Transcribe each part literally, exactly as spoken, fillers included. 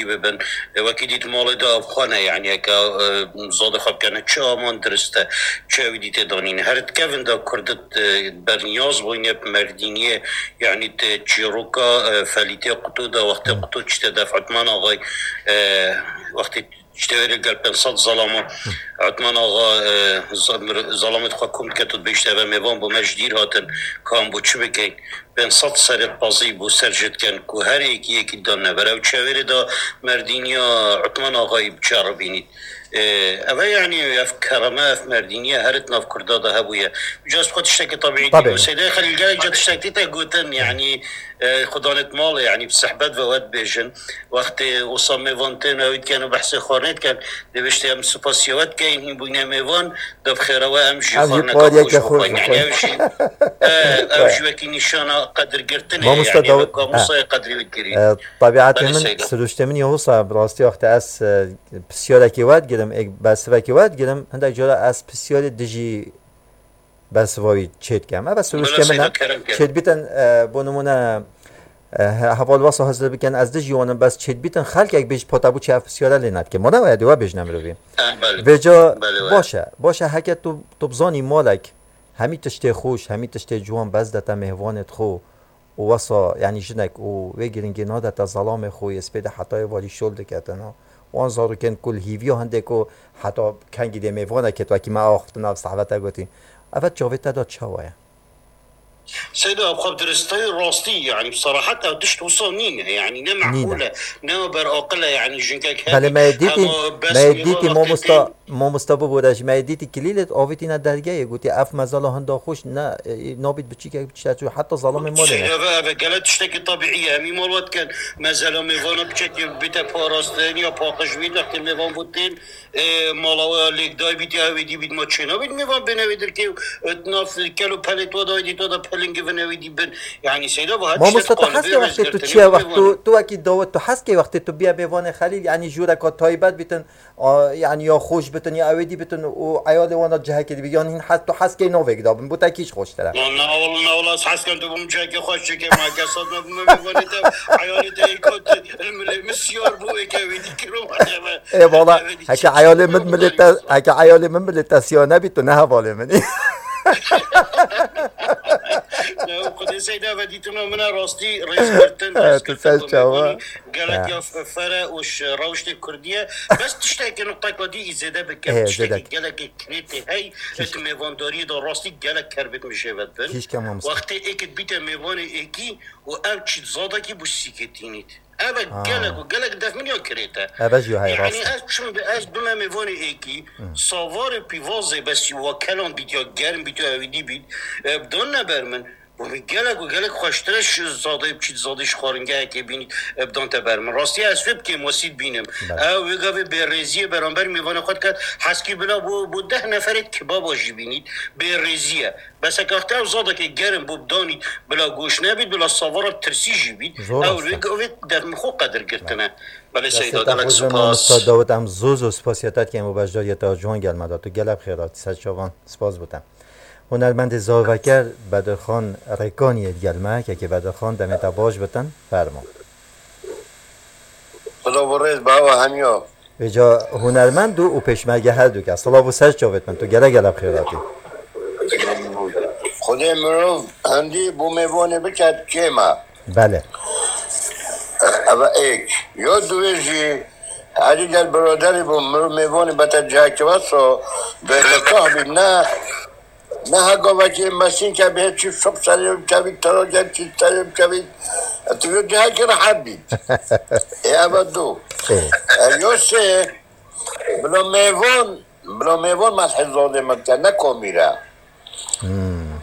bibin. E, wekî dît malê de ev xwe ne, yanî heke, e, zadê xwe bikene, çi aman dirist e, çi ewî dîtê danîne. Her dikevin de Kurd, e, berniyaz bûyne bi merdîniyê, yanî di çîroka, e, felîtê quto de, wextê quto çîte def Utman Axay, e, wextê çîte wêrê gel pênc sed zalama Utman Axa, e, za-, mir-, zalamê xwe kom diket û dibêjte, eve mêvan bû me ji dîr hatin, kan bû çi bikeyn? Pênc sed serê qazî bû ser jê diken ku her êkî êkî dan neber. Ew çewêrê da merdîniya Utman Axayî biçeribînît. E, eve yanî ev kereme, ev merdîniye her di nav Kurda de hebûye. Ca ez xwe tiştekî tabiî Tabii. dînim. Seydê Xelîl gelek ca tiştekî te gotin, yanî, e, xudanêt malê, yanî bi sehbet ve we dibêjin. Wextê wisa mêvan tên ew diken û behsê xwarinê diken, dê biştê em spasiya we dikeyn, hîn bûyne mêvan, de bi xêra we em jî Em jî xwarine pariyeke xweş xweş bixweyn. Yanî bixweyn. Ew jî, e, ew jî wekî nîşana qedirgirtinê, Mamosta yanî Dawud, wek ha. Mamosta qedirî dikirî. E, tabiatê Belê min, Seyda. Siruştê min ya wisa, bi rastî wextê ez, e, pisyarekê we digirim, ê, bersivekê we digirim, hindek cara ez pisyarê dijî bersiva wî çêdikim. Ev Bila siruştê min Seyda e. Kerem ke. Çêdibîtin, e, bo nimûne, e, he-, heval wesa hizir bikin, ez dijî wan im, bes çêdibîtin xelkek bêj pota bû çi ev pisyare lê nedike. Mane we dê we bêjine mirovî. E, belê. Vêca Belê we. Baş e. Baş e, heke tu, tu bizanî malek hemî tiştê xweş, hemî tiştê ciwan bes de te mêvanê xwe û wesa, yanî jinek û wê giringê nade te zelamê xwe yê spêde hetayê valî şol diketin, ha. Wan zarokên ku li hîviya hindê ku heta kengî dê mêvanekê wekî me axiftina bi sehvete gotî. Eve çavê te de çawa ye? Seyda, ev xwe diristayî rastî, yanî bi serahet ew tişt wisa nîne, yanî ne Nîne. meqûl e, ne ber aqil e, yanî jinkek Belê hemî me yê dîtî, hema bes me yê dîtî nîvan mamosta, wextê tên. Mamosta bibûre ji me yê dîtî kilîlê avêtîne dergehê, gotî ev mezela hinda xweş ne, e, nabît biçîkek biçîte çû, heta zelamê malê ne. Eve, eve gele tiştekî tabiî ye. Hemî mal we dikin, mezela mêvana biçekî bite parastin ya paqij bît, wextê mêvan bû tên, e, mala we lêk day bît ya ewê dî bît, ma çênabît mêvan bêne wê dirkê û, e, nav kel û pelê to da, ewê dî to da pelingivin ewê dî bin. Yanî Seyda, bu her tiştek Mamosta, tu qalibe hez kê wextê tu rêzgirtinê çiye bu wext, mêvan. tu, tu wekî dawet, tu hes kê wextê tu biya mêvanê Xelîl, yanî jûreka taybet bitin, A, yanî ya xweş bitin ya ewêdî bitin û eyalê wan da cihekê dibî, yan hîn hes, tu hes key navek da bin, bo te kî ji xweştir e? Na, na, wala, na, wala, ez hes kem tu bûm cihekê xweş çêkê, ma ke sed me bûme mêvanê te, eyalê te êk hat, milê min siyar bû, êk ewêdî kiro, ma ke me, Ê, wala, ewêdî heke çi eyalê çi min bû, milê te, heke eyalê min milê te siya nebî, tu ne hevalê min î. Ya, Xwedê Seyda ve dîtina min e, rastî rêzgirtin, Evet, rêzgirtin sen bu çawa? mêvanî. Gelek Ha. ya f-, fere û ş-, rewiştê kurdî ye. Bes tiştekê nuqteka dî î zêde bikim. Ê, Tiştekî zêde. gelekê kirêtê hey, Kîş- et mêvandariyê de rastî gelek kerbêt mijêvet bin. Kîşke mamosta. Wextê êkit bîte mêvanê êkî û ev çît zadekî bû sîketînît. Ev e Ha. gelek û gelek def min ya kirête. Ev e jî hay Yanî rast e. ez çim bi, ez bime mêvanê êkî, Hı. savarê pîvazê besî wa kelan bît ya germ bît ya ewîdî bît, e, dan neber min. Û min gelek û gelek xweştir e ji zadeyê biçît zadê ji xwaringehekê bînî, e, bidan te ber min. Rastî ez wê bi kêmwesî dibînim. Belê. Ew wê gavê bêrêziyê beramber mêvanê xwe diket. Heskî bila bo, bo deh neferê kebaba jî bînît. Bêrêzî ye. Bes heke wextê ew zadekê gerim bo bidanît, bila goş nebît, bila savara tirsî jî bît. Zor Ew rast e. wê gavê def min xwe qedir girtine. Belê Destê Seyda, te gelek xweş be, mamosta spas. Dawid, em zor zor spasiya te dikin bo beşdariyê te ciwan gel me da. Tu gelek xêr hatî, ser çavan. Spas bo te. Hunermendê zaveker Bedirxan Rêkaniyê digel me, kekê Bedirxan, demê te baş bitin, fermo. Silav û rêz bi hewa hemiya. Vêca hunermend û, û pêşmerge her du kes. Silav û ser çavêt min, tu gelek gelek bi xêr hatî. Xwedê mirov hindî bo mêvanê biket kêm e. Belê. Eve êk. Ya duwê jî, herî gel biraderî bo mirov mêvanê bete cihekî wesa, bê mitah bî, ne, ne hega vekê mesîn ke bê çi şop serê çevî, tero gel çi serê çevî. Tu vê cihekî rehet bî. Ê, eve du. Ê. E, yo sê, bila mêvan, bila mêvan methê zadê min ke, ne komîre. Hmm.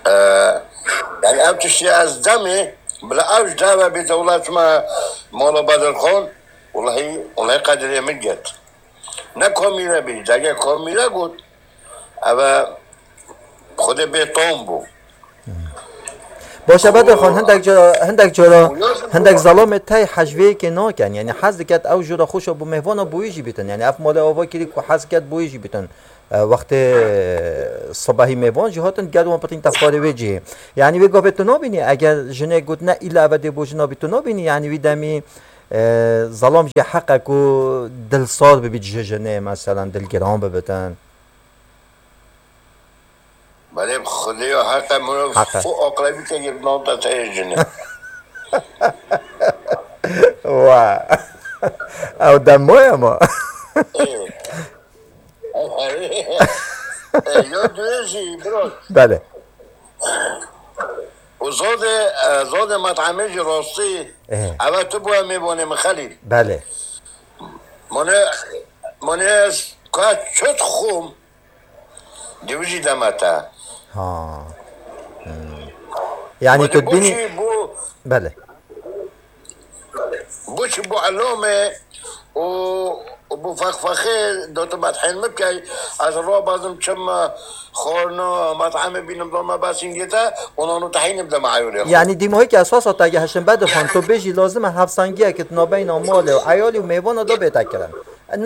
E, yanî ev tiştê ez demê, bila ev ji deve bîte, wela çima mala Bedirxan, welahi, welahi qedirê min get. Ne komîre bî, dege komîre got, eve Xwedê bê tom bû. Baş e, Bedirxan, hindek cara, hindek cara, hindek zelamê tey hej vê yekê nakin. Yanî hez diket ew jûra xweş e bo mêvana bo wî jî bîtin. Yanî ev malê ava kirî ku hez diket bo wî jî bîtin. E, wextê, e, sibehî mêvan jî hatin, gel wan pirtîn te xwarê wê cihê. Yanî wê gavê tu nabînî, eger jinê got ne îla eve dê bo jina bî, tu nabînî, yanî wî demî E, zelam jî heq e ku dil saz bibît ji jinê, meselen, dilgiran bibitin. Belê, Xwedê ya heq e, mirov Heq e. Xwe aqrebî te girtnan te teyê jinê. Wa. Ew dem maye ma. Ê. Ê, ya duye jî, bro. Belê. Û zodê, e, zodê metamê jî rastî. Ê. Eve tu bûye mêvanê min Xelîl. Belê. Mane, mane ez ka çi dixwim, dî wî jî deme te. Ha. Hmm. Yanî Mane tu dibînî çi bû? Belê. Bû çi bû elomê û, û bû fexfexê dotu medhên min bikey, ez ro bazim çim xorno, metamê bînim doma basîngê te, û nano tehînim dema eyolê xwe. Yanî dîmohî ki esasa te ge heşin Bedirxan, tu bêjî lazim e hevsengiyek di nabeyna malê û eyalî û mêvana de bête kirin.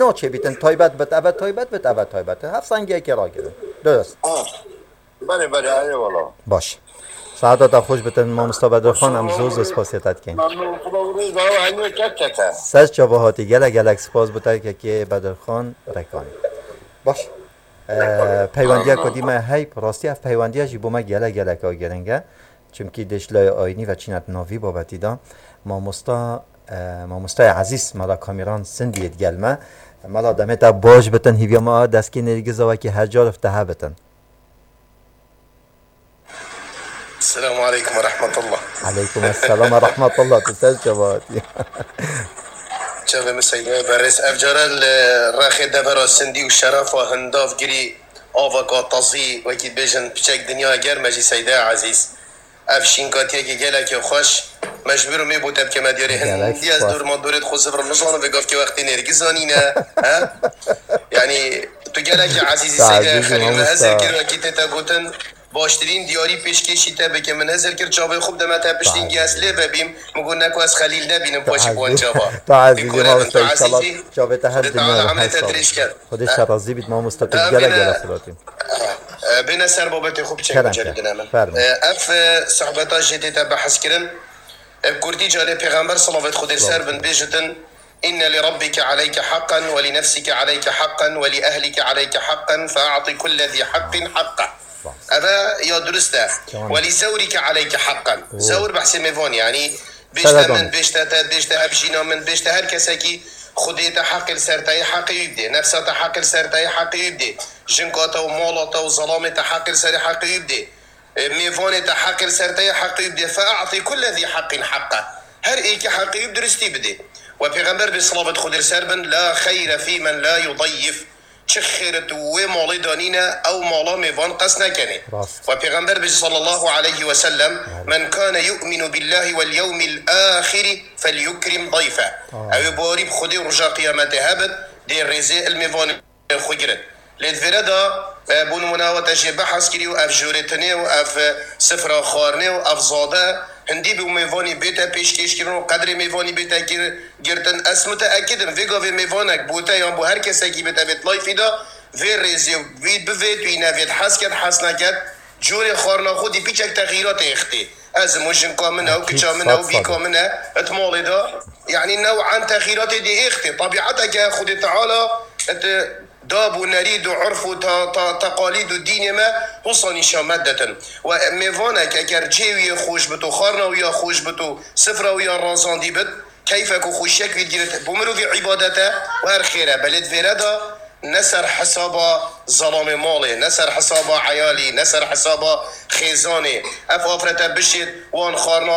Naçê bîtin taybet bit, eve taybet bit, eve taybet. Hevsengiyekê ragirin. Durust. Ha. Belê, belê, eyvallah. Baş. Saeta te xweş bitin, mamosta Bedirxan, em zor zor spasiya te dikin. Memnun, Xuda û rêz dawa hemî kek kete. Ser çava hatî, gelek gelek spas bi te kekê Bedirxan Rekanî. Baş. Ee, peywendiya ku dî me hey, rastî ev peywendiya jî bo me gelek gelek a giring e. Çimkî dê ji layê ayînî ve çîne di nav vî babetî de. Mamosta, e, mamostayê ezîz Mela Kamîran Sindiyê digel me. Mela demê te baş bitin, hîviya me a destgî nêrgiza wekî her car te hebitin. Selamu aleykum ve rahmetullah. Aleykum esselam ve rahmetullah. Tu ser çava hatî? Çavê min Seyda Berêz. Ev cara li rexê devera Sindî û şerefa Hindavgirî, avaka tazî, wekî dibêjin piçek dinya germ e jî Seyda Ezîz. Ev şînkatiyekî gelekî xweş. Me ji vir û mê bo te bikeme diyarê. Gelek Hindî ez spas. Dor ma dorê xwe zivrim nizanim vê gavkê wextê nêrgizanîne. He? Yanî tu gelekî ezîzî Seyda Xelîl, me hezir kir wekî tê te gotin. Baştirîn diyarî pêşkêşî te bike. Min hezir kir çavê xwe bideme te piştîngî ez lê vebîm. Min got, ne ku ez Xelîl nebînim paşî bi wan çava. Tu ezîz, tu ezîzî, mamosta, înşallah çavê te her dinya re her sal. Xwedê te razî bît. Xwedê te razî bît. Xwedê te razî bît, mamosta, tu gelek gelek xelatî. E, bêne ser babetê xwe biçe. Kerem ke. Kerem. Ev, e, sohbeta jê tê te behs kirin. E, kurtî carê Pêxember, salavet Xwedê li ser bin, bêjitin: "Inne li rabbike aleyke haqqan ve li nefsike aleyke haqqan ve li ehlike aleyke haqqan fe a'ti kulle zî haqqin haqqa." Eve ya durist e. Tamam. "Ve li zewrike aleyke haqqan." Oo. Zewr behsê mêvan, yanî bêjte min, bêjte te, bêjte hevjîna min, bêjte her kesekî Xwedê te heqê li ser te ye, heqê wî bidê. Nefsa te heqê li ser te ye, heqê wî bidê. Jinka te û mala te û zelamê te heqê li ser ye, heqê wî bidê. E, mêvanê te heqê li ser te ye, heqê wî bidê. Fe a'tî kulle zî haqqin haqqa. Her êkî heqê wî bi duristî bidê. We Pêxember bê, silavet Xwedê li ser bin, "La xeyre fî men la yudayyif." Çi xêr tu wê malê de nîne, ew mala mêvan qes nekenê. Rast. We Pêxember bê, sallallahu aleyhi ve sellem, "Men kane yu'minu billahi vel yewmil ahiri fel yukrim dayfe." Aa. Ew ê bawerî bi Xwedê û roja qiyametê hebit, dê rêzê il mêvanê xwe girin. Lê di vêre de, e, bo nimûne we te jê behs kirî û ev jorêtinê û ev, e, sifra xwarinê û ev zade hindî bi mêvanî bête pêşkêşkirin û qedrê mêvanî bête kir-, girtin. Ez mutêekid im, vê gavê mêvanek bo te yan bo her kesekî bête vê layfî de, vê rêzê wî bivê, tu yî nevêt hez ket, hez neket, corê xwarina xwe dî pîçek texîratê êxtê. Ez im û jinka min e û kiça min e û bîka min e, it malê de, yanî new'an texîratê dê êxtê. Tabiateke Xwedê Teala it dab û nerîd û urf û ta-, ta-, teqalîd û dînê me wisa nîşan me ditin. We mêvanek eger cihê wî yê xweş bit û xwarina wî ya xweş bit û sifra wî ya razandî bit, keyfek û xweşiyek wî digire, bo mirovî îbadet e û her xêr e. Belê di vêre de ne ser hesaba zelamê malê, ne ser hesaba eyalî, ne ser hesaba xêzanê. Ev afrete bişêt, wan xwarina